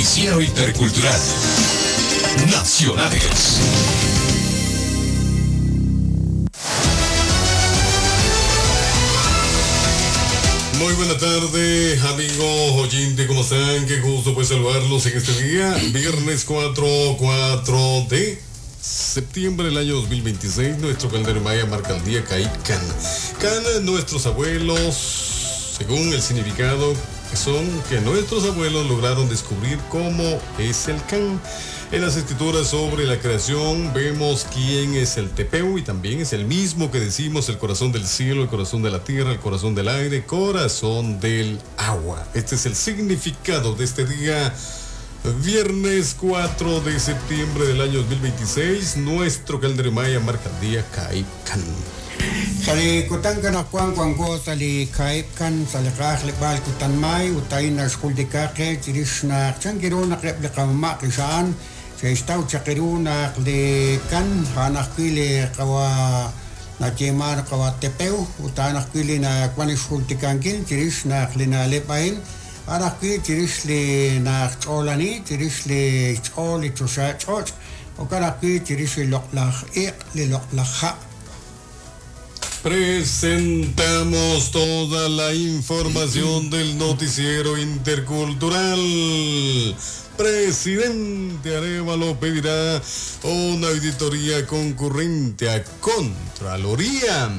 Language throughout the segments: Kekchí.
Noticiero Intercultural. Nacionales. Muy buena tarde, amigos oyentes, ¿cómo están? Qué gusto pues saludarlos en este día, viernes 4 de septiembre del año 2026. Nuestro calendario maya marca el día Kaikan. Kan, nuestros abuelos, según el significado, son que nuestros abuelos lograron descubrir cómo es el Kan. En las escrituras sobre la creación vemos quién es el Tepeu y también es el mismo que decimos el corazón del cielo, el corazón de la tierra, el corazón del aire, corazón del agua. Este es el significado de este día, viernes 4 de septiembre del año 2026. Nuestro calendario maya marca el día Kaikan. Sa li kutan kanaqwan wanko sa li kaib kan sa li q'ajleb'aal kutan may ut a'in naxjultika qe chirix naq chan kiru naq eb' li qamama' qixa'an xe'xtaw chaq iru naq li kan a'an ajwi' li qawa nayeeman qawa Tepeu ut a'an ajwi' li nawan xjultikankil chirix naq li na'leb' a'in a'an ajwi' chirix li naq ch'oolani chirix li xch'ool li choxa ch'och' jo'kan ajwi' chirix li loq'laj iq' li loq'laj ha'. Presentamos toda la información del noticiero intercultural. Presidente Arévalo pedirá una auditoría concurrente a Contraloría.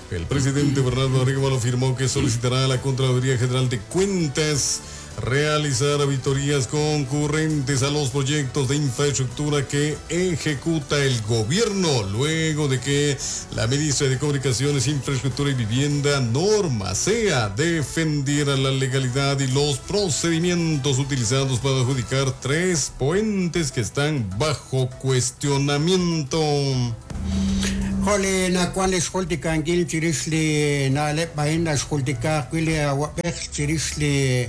El presidente Bernardo Arévalo afirmó que solicitará a la Contraloría General de Cuentas realizar auditorías concurrentes a los proyectos de infraestructura que ejecuta el gobierno, luego de que la ministra de Comunicaciones, Infraestructura y Vivienda, Norma Zea, defendiera la legalidad y los procedimientos utilizados para adjudicar 3 puentes que están bajo cuestionamiento. Jole nakuan xjultikankil chirix li na'leb' a'in naxjultika ajwi' li awab'ej chirix li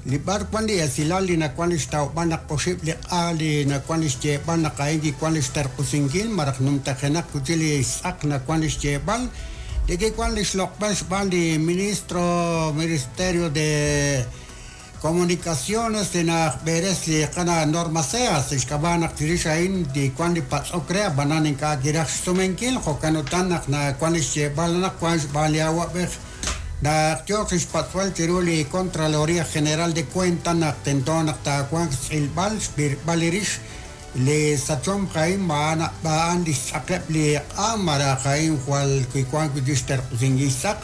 li b'ar wan li esilal li nawan li xtawb'al naq oxib' li q'a li nawan li xyeeb'al naq a'in kiwan li xtarq'usinkil maraj numtajenaq kuchi li xtz'aq nawan li xyeeb'al li kiwan li xloq'b'al xb'aan li ministro Ministerio de Comunicaciones de naq b'eres li qana Norma Zea xk'ab'a' naq chirix a'in li wan li patz'ok re ab'anan ink'a' kiraj xsumenkil jo'kan utan naq nawan li xyeeb'al naq wan xb'aan li awab'ej naq yooq xpatz'b'al chiru li Contraloría General de Cuentas naq tento naq taawanq xtz'ilb'al xb'irb'al li rix li sachom a'in b'a'an li xtz'aqeb' li q'a maraj a'in jwal kiwan wi' xterq'usinkil xtz'aq.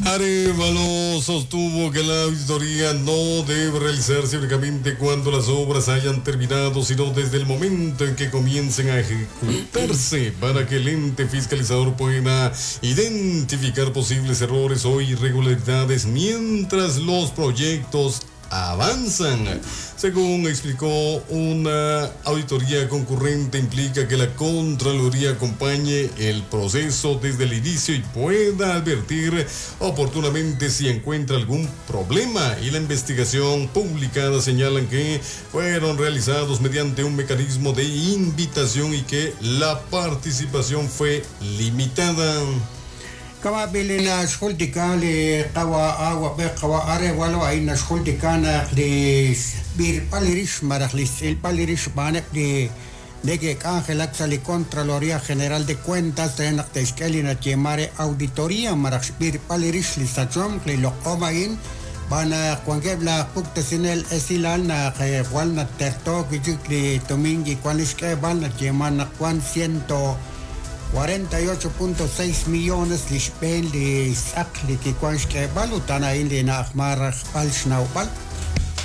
Arévalo sostuvo que la auditoría no debe realizarse únicamente cuando las obras hayan terminado, sino desde el momento en que comiencen a ejecutarse, para que el ente fiscalizador pueda identificar posibles errores o irregularidades mientras los proyectos avanzan. Según explicó, una auditoría concurrente implica que la Contraloría acompañe el proceso desde el inicio y pueda advertir oportunamente si encuentra algún problema. Y la investigación publicada señalan que fueron realizados mediante un mecanismo de invitación y que la participación fue limitada. Kama bili na xjultika li qawa awab'ej qawa Arévalo a'in naxjultika naq li b'irb'al li rix maraj li xtz'ilb'al li rix xb'aaneb' li neke'k'anjelak sa li Contraloría General de Cuentas re naq te'xk'e li nayeema re auditoría maraj xb'irb'al li rix li sachomq li loq'om a'in b'anaq wankeb' laj puktesinel esilal naq jwal naterto wi'chik li tumin kiwan li xk'eeb'al nayeema naq wan 148.6 millones li xb'een li xtz'aq li kiwan xk'eeb'al ut a'an a'in li na'ajmar rajb'al xnawb'al.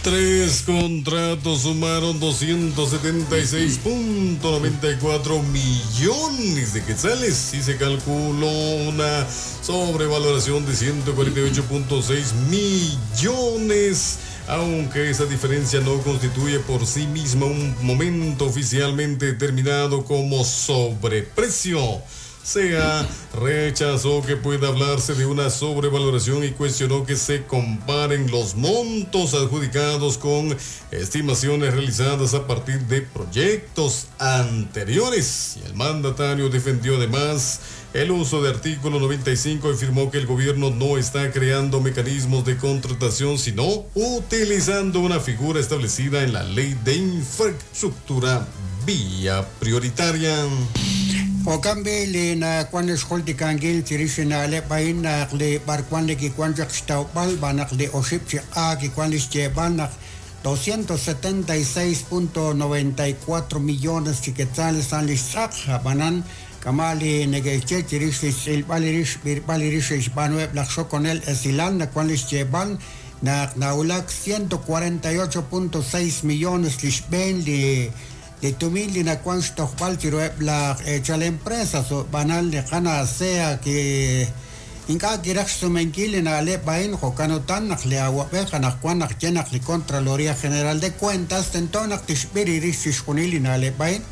3 contratos sumaron 276.94 millones de quetzales y se calculó una sobrevaloración de 148.6 millones, aunque esa diferencia no constituye por sí misma un momento oficialmente determinado como sobreprecio. Zea rechazó que pueda hablarse de una sobrevaloración y cuestionó que se comparen los montos adjudicados con estimaciones realizadas a partir de proyectos anteriores. Y el mandatario defendió además el uso de artículo 95 y afirmó que el gobierno no está creando mecanismos de contratación, sino utilizando una figura establecida en la ley de infraestructura vía prioritaria. Jo'kan b'i li nawan xjultikankil chirix li na'leb' a'in naq li b'arwan li kiwan chaq xtawb'al b'an naq li oxib' chi q'a kiwan li xyeeb'al naq 276.94 millones chi quetzales a'an li xtz'aq ab'anan kama' li neke'xye chirix li xtz'ilb'al li rix xb'irb'al li rix xe'xb'aanuheb' laj xokonel esilal nawan li xyeeb'al naq nawulak 148.6 millones li xb'een li li tumin li nawan xtojb'al chiruheb' laj eechal empresas b'anal li qana' Zea ki ink'a' kiraj xsumenkil li na'leb' a'in jo'kan utan naq li awab'ej anaqwan naq ye naq li Contraloría General de Cuentas tento naq tixb'ir rix chixjunil li na'leb' a'in.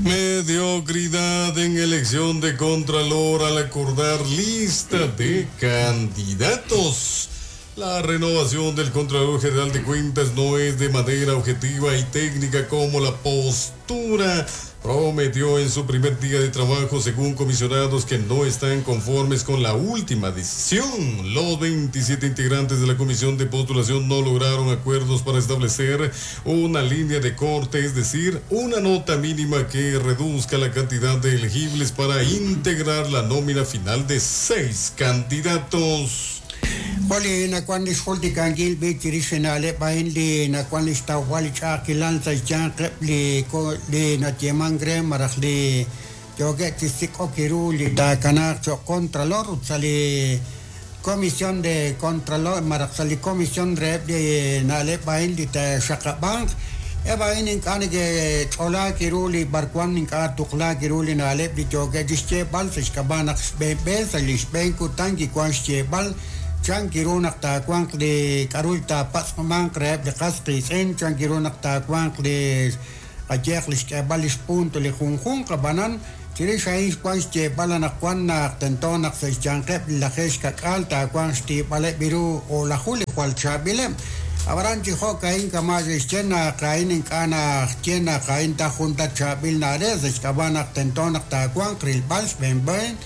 Mediocridad en elección de Contralor al acordar lista de candidatos. La renovación del Contralor General de Cuentas no es de manera objetiva y técnica como la postura prometió en su primer día de trabajo, según comisionados que no están conformes con la última decisión. Los 27 integrantes de la comisión de postulación no lograron acuerdos para establecer una línea de corte, es decir, una nota mínima que reduzca la cantidad de elegibles para integrar la nómina final de 6 candidatos. Joli nawan li xjultikankil b'i chirix li na'leb' a'in li nawan li xtawb'al li ch'a'ajkilal sa' xyanqeb' li li nayeemank re malaj li yookeb' chi sik'ok ru li taakanaaq cho'q Contralor ut sa' li Comisión de Contralor malaj sa' li Comisión reheb' li na'leb' a'in li taaxaqab'anq eb' a'in ink'a' neke'ch'olaak ru li b'arwan ink'a' tuqlaak ru li na'leb' li yookeb' chi xyeeb'al sa' xk'ab'a' naq xb'een b'een sa' li xb'een kutan kiwan xyeeb'al chan kiru naq taawanq li k'a'ru taapatz'manq reheb' li qas qiitz'in chan kiru naq taawanq li qayehaq li xk'eeb'al li xpunto li junjunq ab'anan chirix a'in xwan xyeeb'al anaqwan naq tento naq sa' xyanqeb' li lajeeb' xka'k'aal taawanq xtiib'aleb' ru o'laju li jwal chaab'ileb' ab'anan chi jo'ka'in kama' xe'xye naq a'in ink'a' naxye naq a'in ta jun ta chaab'il na'leb' sa' xk'ab'a' naq tento naq taawanq rilb'al xb'een b'een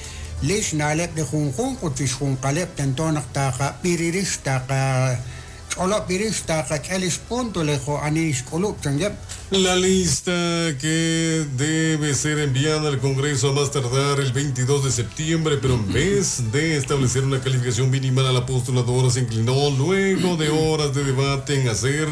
li xna'leb' li junjunq ut chixjunqaleb' tento naq taaqab'ir rix taaqach'olob' rix taaqak'e li xpunto li jo' ani xk'ulub' chankeb'. La lista que debe ser enviada al Congreso a más tardar el 22 de septiembre, pero en vez de establecer una calificación mínima a la postuladora se inclinó luego de horas de debate en hacer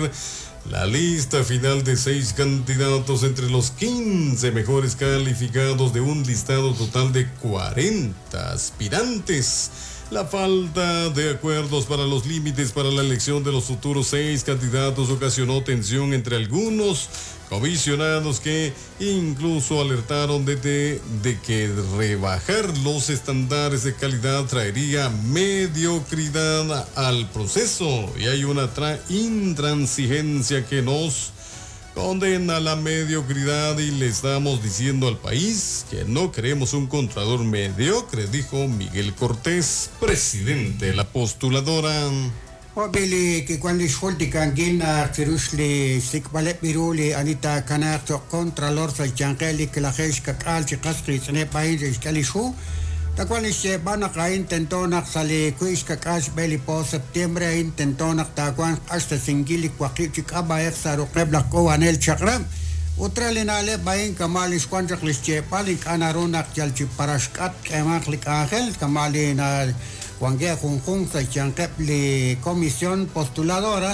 la lista final de 6 candidatos entre los 15 mejores calificados de un listado total de 40 aspirantes. La falta de acuerdos para los límites para la elección de los futuros 6 candidatos ocasionó tensión entre algunos comisionados que incluso alertaron de que rebajar los estándares de calidad traería mediocridad al proceso, y hay una intransigencia que nos condena a la mediocridad y le estamos diciendo al país que no queremos un contralor mediocre, dijo Miguel Cortés, presidente de la postuladora. Job'ili kiwan li xjultikankil naq chirix li xsik'b'aleb' ru li ani taakanaaq cho'q Contralor sa' xyanqeb' li lajeeb' xka'k'aal chi qas qiitz'ineb' a'in xe'xk'e li xhu tawan li xyeeb'al naq a'in tento naq sa' li wi' xka'k'aal xb'e li po septiembre a'in tento naq taawanq q'axtesinkil li waqib' chi k'ab'a'ej sa' ruq'eb' laj k'uub'anel chaq'rab' ut re li na'leb' a'in kama' li xwan chaq li xyeeb'al ink'a' naru naq yal chi paraxk'at k'eemanq li k'anjel kama' li wankeb' junjunq sa' xyanqeb' li comisión postuladora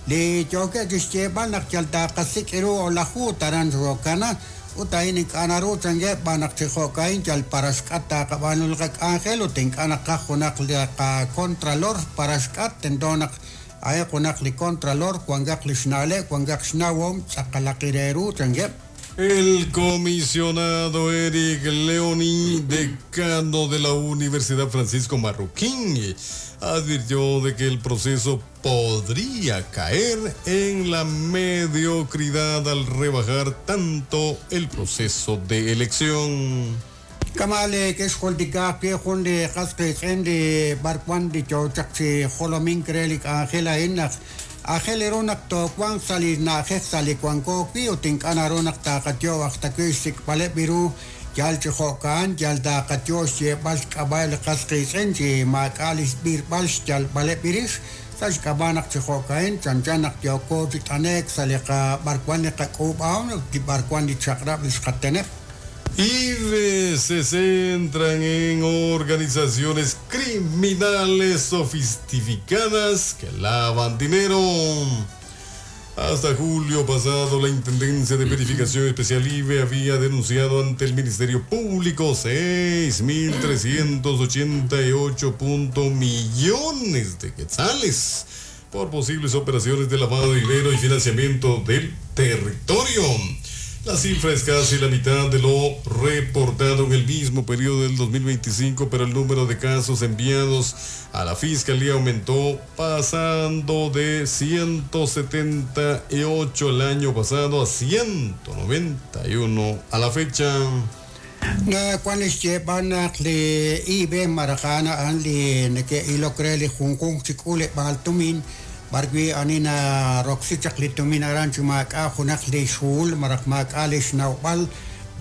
li yookeb' chi xyeeb'al naq yal taaqasik' ru o'laju taran xokana ut a'in ink'a' naru chankeb' b'an naq chi jo'ka'in yal paraxk'at taaqab'aanu li qak'anjel ut ink'a' naqaj junaq li qacontralor paraxk'at tento naq a'in junaq li contralor wankaq li xna'leb' wankaq xnawom tz'aqalaq re ru chankeb'. El comisionado Eric Leoni, decano de la Universidad Francisco Marroquín, advirtió de que el proceso podría caer en la mediocridad al rebajar tanto el proceso de elección. Kamale kexjultika wi jun li qas qiitz'in li b'ar wan li yook chaq chi jolomink re li k'anjel a'in naq aajel ru naq toowanq sa' li na'ajej sa' li wanko wi ut ink'a' naru naq taqayo aj ta wi xsik'b'aleb' ru yal chi jo'kan yal taqayo xyeeb'al xk'ab'a' li qas qiitz'in chi maak'a' li xb'irb'al xyalb'aleb' rix sa' xk'ab'a' naq chi jo'ka'in chanchan naq yooko chi t'anek sa' li b'ar wan li qak'uub'ahom ut li b'ar wan li chaq'rab' li xqateneb'. IVE se centran en organizaciones criminales sofisticadas que lavan dinero. Hasta julio pasado, la Intendencia de Verificación Especial IVE había denunciado ante el Ministerio Público 6.388 millones de quetzales por posibles operaciones de lavado de dinero y financiamiento del territorio. La cifra es casi la mitad de lo reportado en el mismo periodo del 2025, pero el número de casos enviados a la fiscalía aumentó, pasando de 178 el año pasado a 191 a la fecha. Na wan xyeeb'al naq li IVE marajana a'an li neke'ilok re li junjunq chi k'uuleb'aal tumin b'ar wi ani naroksi chaq li tumin aran chi maak'a' junaq li xhuhul malaj maak'a' li xnawb'al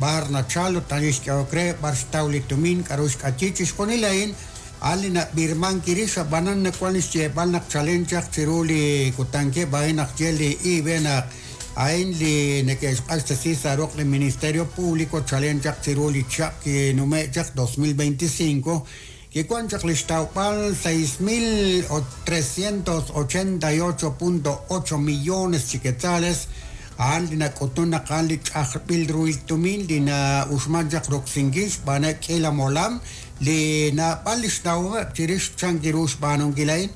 b'ar nachal ut ani xk'ehok re b'ar xtaw li tumin k'aru xk'ayi chixjunil a'in a'an li nab'irman kirix ab'anan nawan li xyeeb'al naq chalen chaq chiru li kutankeb' a'in naq ye li IVE naq a'in li neke'xq'axtesi sa' ruq' li Ministerio Público chalen chaq chiru li chaq kinume' chaq 2025 kiwan chaq li xtawb'al 6.388.8 millones chi quetzales a'an li nak'utun naq a'an li ch'ajb'il ruhil tumin li na'uxman chaq roksinkil xb'aaneb' k'iila molam li naab'al li xnawomeb' chirix chan kiru xb'aanunkil a'in.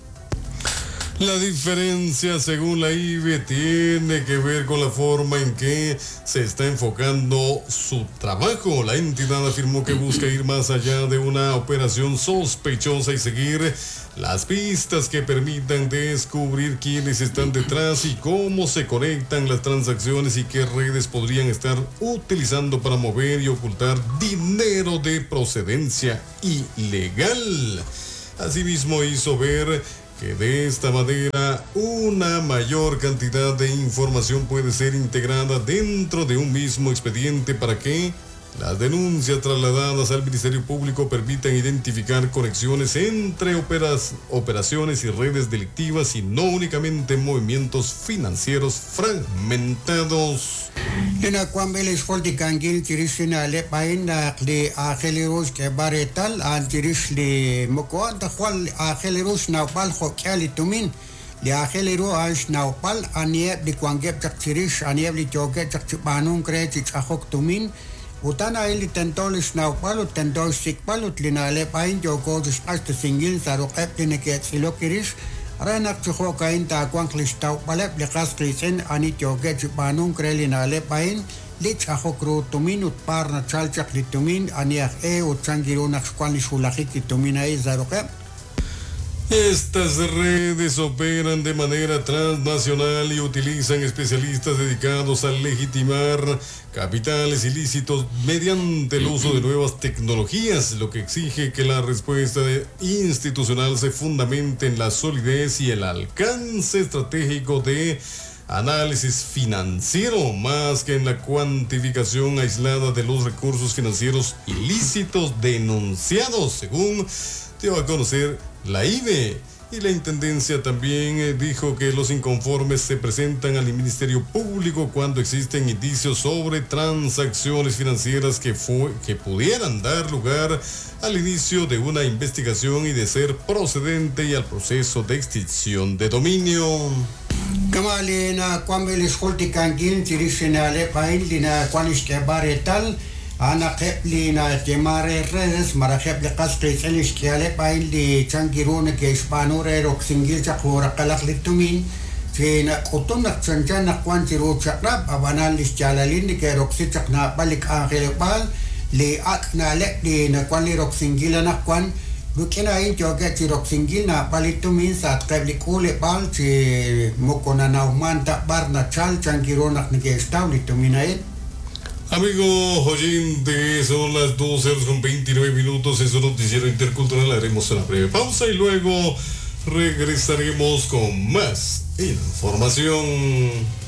La diferencia, según la IVE, tiene que ver con la forma en que se está enfocando su trabajo. La entidad afirmó que busca ir más allá de una operación sospechosa y seguir las pistas que permitan descubrir quiénes están detrás y cómo se conectan las transacciones y qué redes podrían estar utilizando para mover y ocultar dinero de procedencia ilegal. Asimismo, hizo ver que de esta manera una mayor cantidad de información puede ser integrada dentro de un mismo expediente para que las denuncias trasladadas al Ministerio Público permitan identificar conexiones entre operaciones y redes delictivas y no únicamente movimientos financieros fragmentados. Li nawanb'il xjultikankil chirix li na'leb' a'in naq li aajel ru xk'eeb'al reetal a'an chirix li moko a'an ta jwal aajel ru xnawb'al jo'k'ihal li tumin li aajel ru a'an xnawb'al aniheb' li wankeb' chaq chirix aniheb' li yookeb' chaq chi b'aanunk re chi ch'ajok tumin ut a'an a'in li tento li xnawb'al ut tento xsik'b'al ut li na'leb' a'in yooko chi xq'axtesinkil sa' ruq'eb' li neke'tz'ilok kirix re naq chi jo'ka'in taawanq li xtawb'aleb' li qas qiitz'in ani yookeb' chi b'aanunk re li na'leb' a'in li ch'ajok ru tumin ut par nachal chaq li tumin ani aj e ut chan kiru naq xwan li xwulajik li tumin a'in sa' ruq'eb'. Estas redes operan de manera transnacional y utilizan especialistas dedicados a legitimar capitales ilícitos mediante el uso de nuevas tecnologías, lo que exige que la respuesta institucional se fundamente en la solidez y el alcance estratégico de análisis financiero, más que en la cuantificación aislada de los recursos financieros ilícitos denunciados, según dio a conocer la IVE. Y la Intendencia también dijo que los inconformes se presentan al Ministerio Público cuando existen indicios sobre transacciones financieras que pudieran dar lugar al inicio de una investigación y de ser procedente y al proceso de extinción de dominio. Kama li nawanb'il li xjultikankil chirix li na'leb' a'in li nawan li xk'eeb'al reetal a'an naqeb' li nayema re redes malaj eb' li qas qiitz'in li xk'ihaleb' a'in li chan kiru neke'xb'aanu re roksinkil chaq juraqalaq li tumin chi nak'utun naq chanchan naq wan chiru chaq'rab' ab'anan li xyaalalil neke'roksi chaq naab'al li k'anjeleb'aal li ak' na'leb' li nawan li roksinkil anaqwan rik'in a'in yookeb' chi roksinkil naab'al li tumin sa'atqeb' li k'uuleb'aal chi moko nanawman ta b'ar nachal chan kiru naq neke'xtaw li tumin a'in. Amigo oyente, son las 12 horas con 29 minutos en su noticiero intercultural. Haremos una breve pausa y luego regresaremos con más información.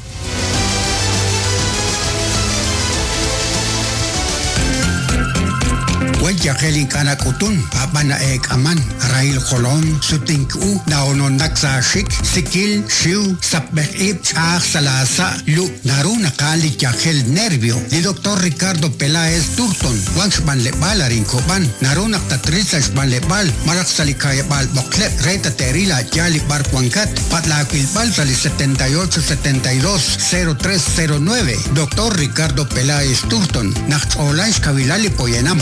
Wan yajel ink'a' nak'utun, ab'an na'eek'aman, rahil jolom, sutink u, na'ononnak sa' aaxik, sikil, xiw, sapb'ej ib', ch'a'aj sa' laasa', lub', naru naq a'an li yajel nervio. Li Doctor Ricardo Peláez Turton wan xb'anleb'aal arin Kob'an. Naru naq tatril sa' xb'anleb'aal malaj sa' li ka'yab'aal b'oqleb' re tate'ril a' yaal li b'ar wankat. Patz' laawilb'al sa' li 78 72 0309. Doctor Ricardo Peláez Turton, naq ch'oolan xkawilal li poyanam.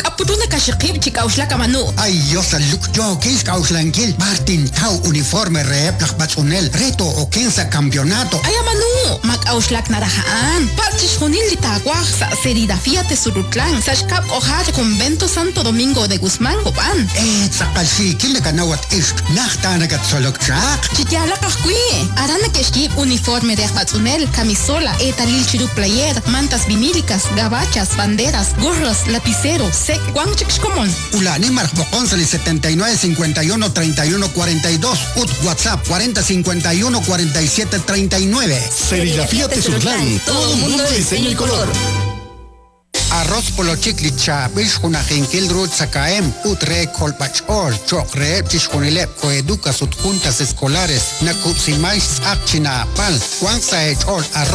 K'a'put nakaxiqib' chi k'a'uxlak amanu? Ay Dios aluk yookin xk'a'uxlankil b'ar tintaw uniforme reheb' laj b'atz'unel re too'oken sa' campeonato. Ay amanu, ma k'a'uxlak naraj a'an. Patz' chixjunil li taawaj sa' Serigrafía Tezurutlán, sa' xkab' k'ojar Convento Santo Domingo de Guzmán, Cobán. Tz'aqal xiikil nakanaw at ixq, najt ta nakatzolok chaq. Chi yaalaq ajwi', aran neke'xyiib' uniforme re aj b'atz'unel, camisola, eetalil chiru player, mantas vinílicas, gabachas, banderas, gorros, lapicero, sek, wank chik xkomon. Ula'ani malaj b'oqon sa' li 79 51 31 42 ut WhatsApp 40 51 47 39. Serigrafía Tezutlán, todo un mundo de diseño y color. Arroz polochik li chaab'il xjunajinkil ru tzakahemq ut re kolb'ach'ool cho'q reheb' chixjunileb' coeducas ut juntas escolares nakub'siman xtz'aq chi naab'al wank sa' eech'ool arroz.